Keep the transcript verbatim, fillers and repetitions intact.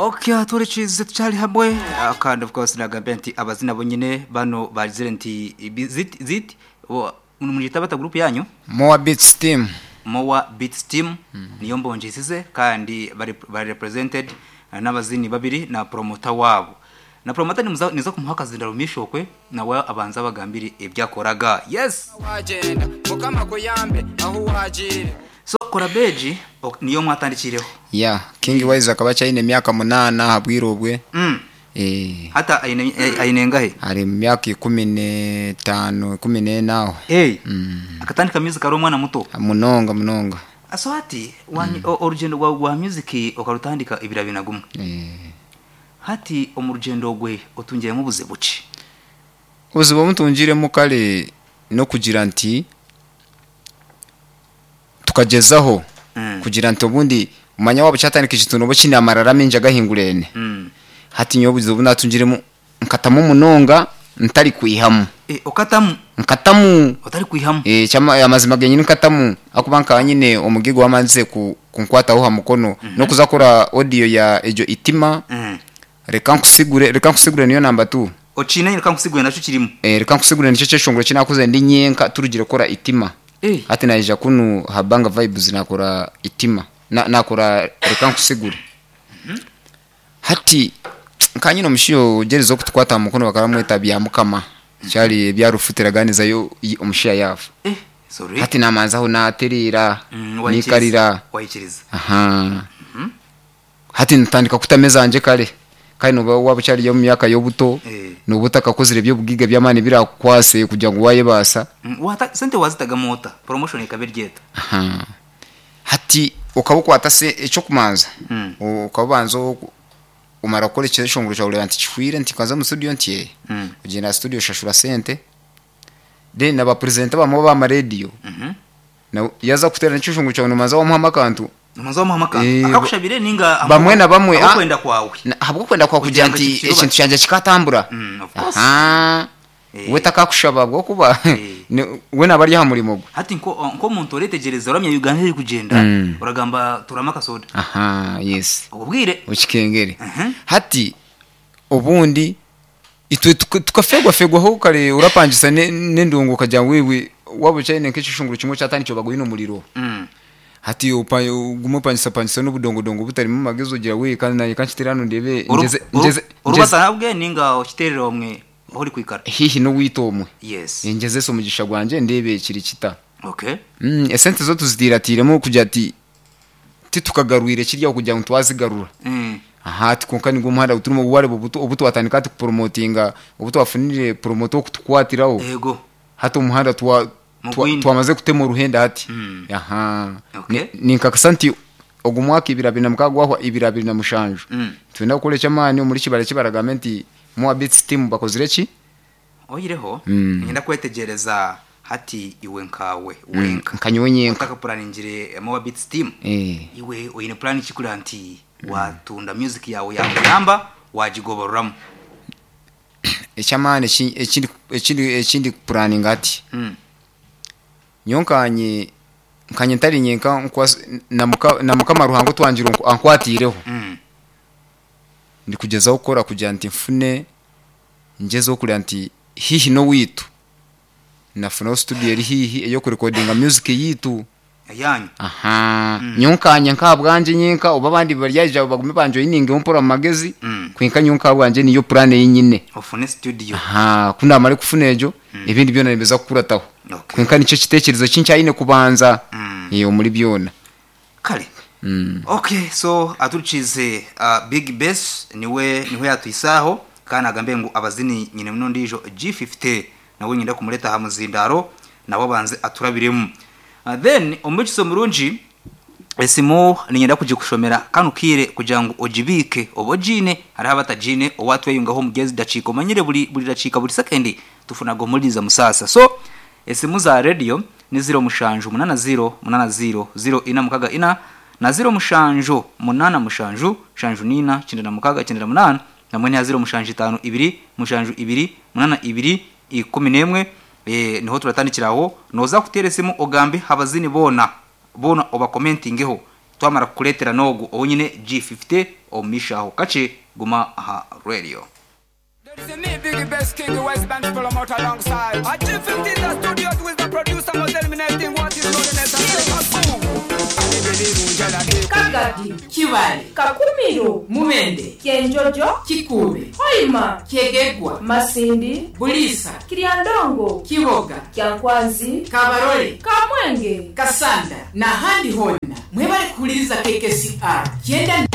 Okay, turekize tucyari hamwe. Ah, kandi of course nagambye nti abazina bonyine bano bagizire nti ibi- zit zit mujita bata group yanyu? Moa Beats Team. Moa Beats Team niyo mbonjisize, kandi bari bari represented eh, n'abazini babiri na promoter wabo. Na promoter nimuza niza kumuha akazi ndarumishokwe nawe abanza bagambire ibyakoraga. Yes. Wagenda mukama kuyambe aho wagiye. So Korabeji ok, niyo mwatandikireho. Ya King Wise akaba acyayine emyaka munana habwirobwe. Mm. Eh hata aine eh, aine ngahe? Ari mu myaka ikumi n'etaano, ikumi n'enaho. Hey. Mm. Akatandika music ari umwana muto. Munonga munonga. So ati wanyi- o- orugendo rwa rwa music okarutandika ibira binagumwe. Eh hati omurugendo gwe otungiremo obuzibu ki? Obuzibu mutungiremu kale no kugira nti tukagezaho Mm. kugira nti obundi umanya wabo cyatandika ekituntu obo kine amarara mingi agahingurene. Mm. Hati nyowe obuzibu natungiremu nkatamu munonga ntari kwihamu. Eh, okatamu? Nkatamu. Otari kwihamu? Eh chama amazima genyini nkatamu akuba nka nyine omugigo wamanze ku kunkwataho ha mukono no kuzakora audio ya ejo itima. Mm. Reka nkusigure, reka nkusigure niyo number two. Ocine reka nkusigure naco kirimo. Eh reka nkusigure nicyo cyeshongoro kinakuze ndi nyenka turugire kora itima. Eh. Hati naija kunu habanga vibes nakora itima. Na, nakora reka nkusigure. Hati nkanyino omushiyo gerezo kutukwata mukono bakaramweta bya mukama. Cyari byarufutiraganiza yo omushiya yafu. Eh, sorry. Hati namanzaho naterera Mm, wayikiriza. nikarira. Wayikiriza. Aha. Hati ntandika kutameza anje kale. Kandi nuba waba cyari yo mu myaka y'obuto. Eh. Nubutaka kozire byo bugiga byamani birakwase kugira ngo waye basa. Mm, wata sente wazitaga mota promotion ikaberyeta. Aha. Hati ukabukwata se ecyo kumanza. Mm. Ukabanza umara gukora icyeshongoro cyawe nti kihwire nti kaza mu studio nti. Mm. Ugenda studio shashura sente. Then naba presenter bamwe ba radio. Mhm. Na yaza kutera n'icyeshongoro cyawe numanza wamuha amakantu. Numanza wamuha amakantu. Eh, Akakushabire ninga bamwe na bamwe, ah. akwenda kwawe. Habwo kwenda kwa kugira Kugira ngo nti kikiruba. ekintu cyanje kikatambura. Mm, of course. Aha. Eh. We takakushaba bwo kuba Eh. ni- we nabari ha murimo gwe. Hati nko nko muntu uretegereza uramya Uganda iri kugenda Mm. uragamba turama kasoda. Aha, yes. Ubwire. Ukikengere. Mhm. Hati obundi itwe tukafegwa fegwa ho kare urapangisa n'endungu kajya wiwi wabo cyane nk'ikishunguru kimwe cyatanico baguye umuriro. Mm. Hati ugumo pangisa pangisa n'ubudongodongo butarimo magezo gira we kandi naye kanshiterano ndebe ngeze ngeze urubata nabwe ninga okiterera omwe aho uri kwikara. Hihi no witomwe. Yes. Ngeze so mugisha gwanje ndebe kiri kita. Okay. Mm, esente zo tuzidiratирemo kujya ati titukagarwire kirya kugira ngo twazigarura. Mm. Aha tikonka ni gumuhanda uturimo buware bubuto obuto watandika tupromotinga obuto wafunire promoto kutukwatiraho. Yego. Hati umuhanda twa twamaze kutema uruhenda hati. Mm. Aha. Okay. Ni nkakasanti ogumwaka ibira bina mukagwaho ibira bina mushanju. Mm. Twenda gukora cyamani muri kibara kibaragamenti mu Beats Team bakozire ki? Oyireho Mm. ngenda kwetegereza hati iwe nkawe wenka. Nkanyowe nyenka. Utaka planingire mu Beats Team. Eh. Iwe oyine plan kikura nti watunda music yawe yakuyamba wajigobororamo. Ekyamani ekindi ekindi ekindi planning ati. Mm. Nyonkanye nkanye ntari nyenka na muka na mukama ruhango twangira ankwatireho. Mm. Ndi kugezaho gukora kugira nti mfune ngezeho kugira nti hihi no witu. Nafuna studio eri hihi eyo kurecordinga music yitu. Yanyu. Aha. Mm. Nyonkanye nkabwanje nyenka oba bandi baryaje bagume banjo yininge mpora magezi. Mm. Kwinka nyonka bwanje niyo plan yinyine. Ofune studio. Aha, kuna mare kufuna ejo mm. Ibindi byona nibeza kukurataho. Okay. Kwinka nicyo kitekerezo cyincyayine kubanza. Mm. Iyo muri byona. Kale. Mm. Okay, so aturukize uh, Big Bass niwe niwe yatuisaho kana agambe ngo abazini nyine muno ndijo G fifty nawe nyinda kumureta ha muzindaro nabo banze aturabiremu. Uh, then omukiso murungi esimu ninyenda kujikushomera kanukire kugira ngo ojibike obojine hari abatajine owatweyungaho mugezi dachiko manyire buri buri dachika buri second tufunago muliza musasa. So esimu za radio ni zero mushanju munana zero munana zero zero ina mukaga ina na zero mushanju munana mushanju shanju nina chindana na mukaga chindana munana na mwene ya zero mushanju itanu ibiri mushanju ibiri munana ibiri ikumi nemwe. Eh niho turatandikiraho noza kuteresimu ogambe habazini bona bona oba commentingeho Twamara kukuleetera n'ogu owunyine G fifty omu maisho aho kakye. Guma aha radio. There is me, Biggie Best King, West Band Promoter alongside. A G fifty in the studios with the producer was eliminating what is known as a Kagadi, Kibale, Kakumiro, Mubende, Kyenjojo, Kikuube, Hoima, Kyegegwa, Masindi, Buliisa, Kiryandongo, Kiboga, Kyankwanzi, Kabarole, Kamwenge, Kasanda n'ahandi hoona. Mwebale kuhuliriza K K C R kyenda.